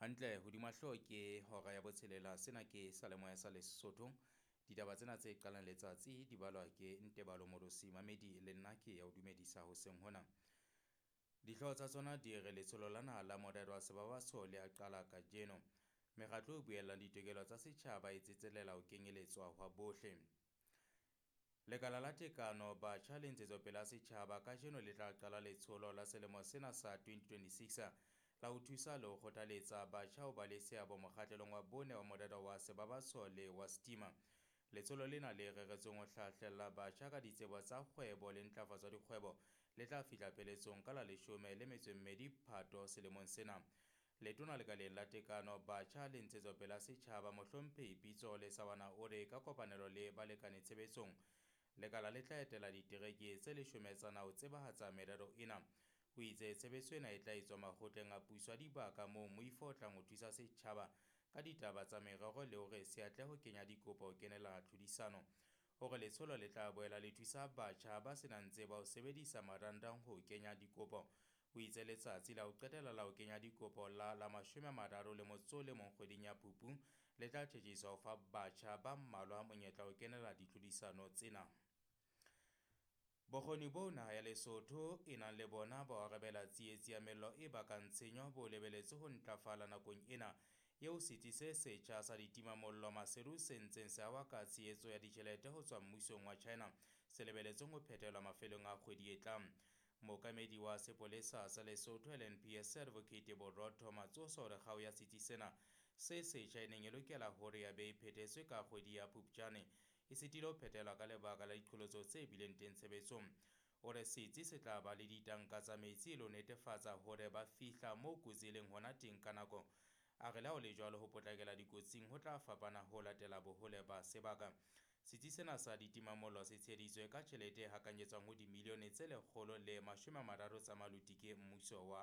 Hantle hodima hlooho ke hora ya botshelela. Sena ke Salemoya sa Lesotho. Ditaba tsena tse qalang letsatsi di balwa ke Ntebalo Molosi Mamedi le nna ke ya o dumedisa hoseng hona. Dihlooho tsa tsona di re letsholo la naha la morero wa sebabatso le a qala kajeno. Mekgatlo e buellang ditokelo tsa setjhaba e tsetselela ho kenyeletswa hwa bohle. Lekala la Tekano, Batjha le Ntshetsopele ya Setjhaba kajeno le tla qala letsholo la selemo sena sa 2026 la ho thusa le ho kgothaletsa batjha ho ba le seabo mokgahlelong wa bone wa morero wa sebabatso le wa Stima. Letsholo lena le reretsweng ho hlahlella batjha ka ditsebo tsa kgwebo le ntlafatso ya dikgwebo le tla fihla pheletsong ka la 12 Phato selemong sena. Letona lekaleng la Tekano, Batjha le Ntshetsopele ya Setjhaba Mohlomphehi Pitso Lesawana o re ka kopanelo le balekane tshebetsong lekala le tla etela ditereke tse 10 tsa naha ho tsebahatsa merero ena. O itse tshebetso ena e tla etswa makgotleng a puso a dibaka moo moifo o tlang ho thusa setjhaba ka ditaba tsa merero le hore se atle ho kenya dikopo ho kenela tlhodisano. O re letsholo le tla boela le thusa batjha ba senang tsebo ho sebedisa marangrang ho kenya dikopo. O itse letsatsi la ho qetela la ho kenya dikopo la la 31 kgweding ya Phupu le tla tjhetjhiswa ho fa batjha ba mmalwa monyetla ho kenela ditlhodisano tsena. Bokgoni boo naha ya Lesotho e nang le bona ba ho arabela tsietsi ya mello e bakang tshenyo bo lebeletswe ho ntlafala nakong ena eo setsi se setjha sa ditimamollo Maseru se ntseng se ahwa ka tshehetso ya ditjhelete ho tswa mmusong wa China se lebeletsweng ho phethelwa mafelong a kgwedi e tlang. Mookamedi wa sepolesa sa Lesotho LNPS Advocate Borotho Matsoso o re kgao ya setsi sena se setjha e neng e lokela hore ya be e phethetswe ka kgwedi ya Phupjane e sitile ho phethelwa ka lebaka la diqholotso tse bileng teng tshebetsong. O re setsi se tla ba le ditanka tsa metsi le ho netefatsa hore ba fihla moo kotsi e leng hona teng ka nako. A re le ha ho le jwalo ho potlakela dikotsing ho tla fapana ho latela bohole ba sebaka. Setsi sena sa ditimamollo se tsheheditswe ka tjhelete e hakanyetswang ho dimilione tse 130 tsa maluti ke mmuso wa